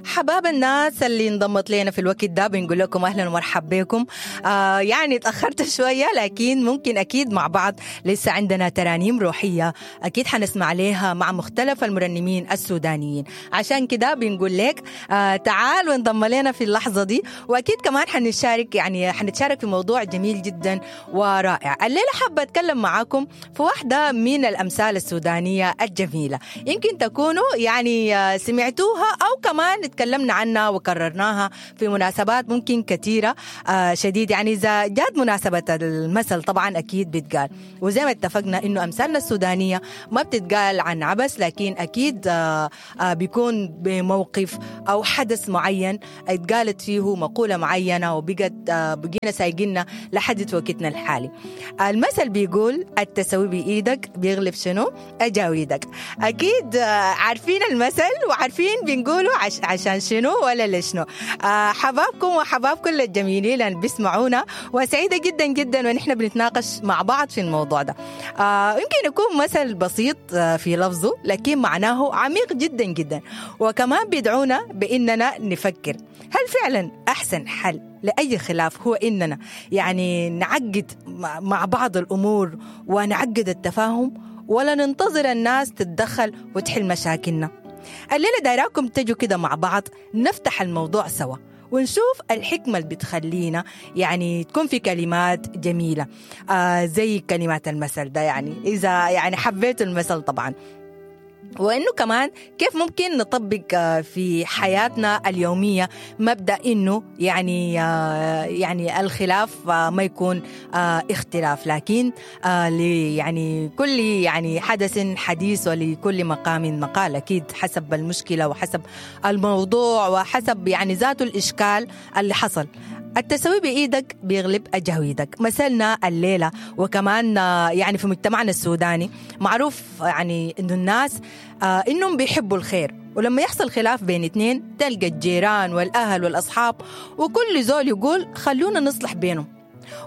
حباب الناس اللي انضمت لنا في الوقت ده، بنقول لكم اهلا ومرحبا بكم. يعني تاخرت شوية، لكن ممكن اكيد مع بعض لسه عندنا ترانيم روحية اكيد حنسمع عليها مع مختلف المرنمين السودانيين. عشان كده بنقول لك تعال وانضم لنا في اللحظة دي، واكيد كمان حنشارك، يعني حنتشارك في موضوع جميل جدا ورائع. الليلة حابة اتكلم معاكم في واحدة من الامثال السودانية الجميلة، يمكن تكونوا يعني سمعتوها او كمان تكلمنا عنها وكررناها في مناسبات ممكن كثيرة شديد. يعني إذا جات مناسبة المثل طبعا أكيد بتقال، وزي ما اتفقنا إنه أمثالنا السودانية ما بتتقال عن عبس، لكن أكيد بيكون بموقف أو حدث معين اتقالت فيه مقولة معينة وبقت بقينا سايقنا لحد وقتنا الحالي. المثل بيقول التسوي بإيدك بيغلب شنو؟ أجاويدك. أكيد عارفين المثل وعارفين بنقوله عشان شنو ولا لشنو. حبابكم وحباب كل الجميلين اللي بيسمعونا، وسعيدة جدا جدا ونحن بنتناقش مع بعض في الموضوع ده. يمكن يكون مثل بسيط في لفظه، لكن معناه عميق جدا جدا، وكمان بيدعونا بإننا نفكر هل فعلا أحسن حل لأي خلاف هو إننا يعني نعقد مع بعض الأمور ونعقد التفاهم، ولا ننتظر الناس تتدخل وتحل مشاكلنا؟ الليلة دايراكم تجوا كده مع بعض نفتح الموضوع سوا ونشوف الحكمة اللي بتخلينا يعني تكون في كلمات جميلة زي كلمات المثل ده، يعني إذا يعني حبيتوا المثل طبعا، وإنه كمان كيف ممكن نطبق في حياتنا اليومية مبدأ إنه يعني الخلاف ما يكون اختلاف، لكن يعني كل يعني حدث حديث ولكل مقام مقال، أكيد حسب المشكلة وحسب الموضوع وحسب يعني ذاته الإشكال اللي حصل. التسوي بإيدك بيغلب أجاويدك مثلنا الليلة. وكمان يعني في مجتمعنا السوداني معروف يعني إنه الناس إنهم بيحبوا الخير، ولما يحصل خلاف بين اثنين تلقى الجيران والأهل والأصحاب وكل زول يقول خلونا نصلح بينهم.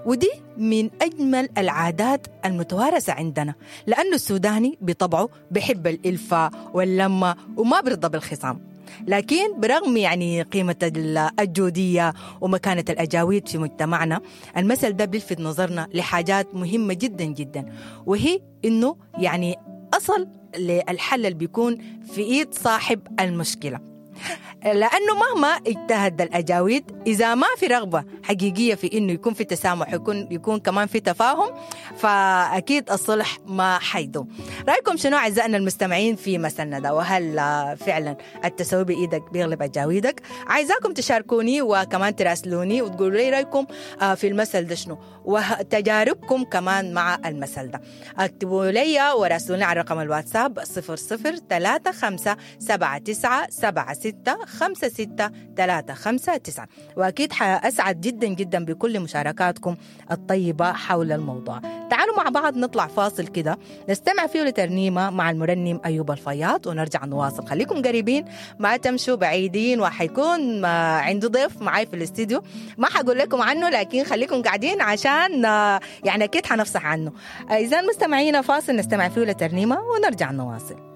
ودي من أجمل العادات المتوارثة عندنا، لأنه السوداني بطبعه بيحب الإلفة واللمة وما بيرضى بالخصام. لكن برغم يعني قيمة الجودية ومكانة الأجاويد في مجتمعنا، المثل ده بيلفت نظرنا لحاجات مهمة جدا جدا، وهي إنه يعني أصل للحل اللي بيكون في إيد صاحب المشكلة، لأنه مهما اجتهد الأجاويد إذا ما في رغبة حقيقية في إنه يكون في تسامح، يكون كمان في تفاهم، فأكيد الصلح ما حيدوم. رأيكم شنو أعزائنا المستمعين في مثلنا ده؟ وهل فعلا التسوي بإيدك بيغلب أجاويدك؟ عايزاكم تشاركوني وكمان تراسلوني وتقولوا لي رأيكم في المثل ده شنو، وتجاربكم كمان مع المثل ده. اكتبوا لي وراسلوني على رقم الواتساب 00 35 79 76 56 359، وأكيد حأسعد جدا جدا بكل مشاركاتكم الطيبة حول الموضوع. تعالوا مع بعض نطلع فاصل كده نستمع فيه لترنيمة مع المرنم أيوب الفياض ونرجع نواصل. خليكم قريبين ما تمشوا بعيدين، وحيكون عنده ضيف معي في الاستديو ما حقول لكم عنه، لكن خليكم قاعدين عشان يعني أكيد حنفصح عنه. إذا مستمعينا فاصل نستمع فيه لترنيمة ونرجع نواصل.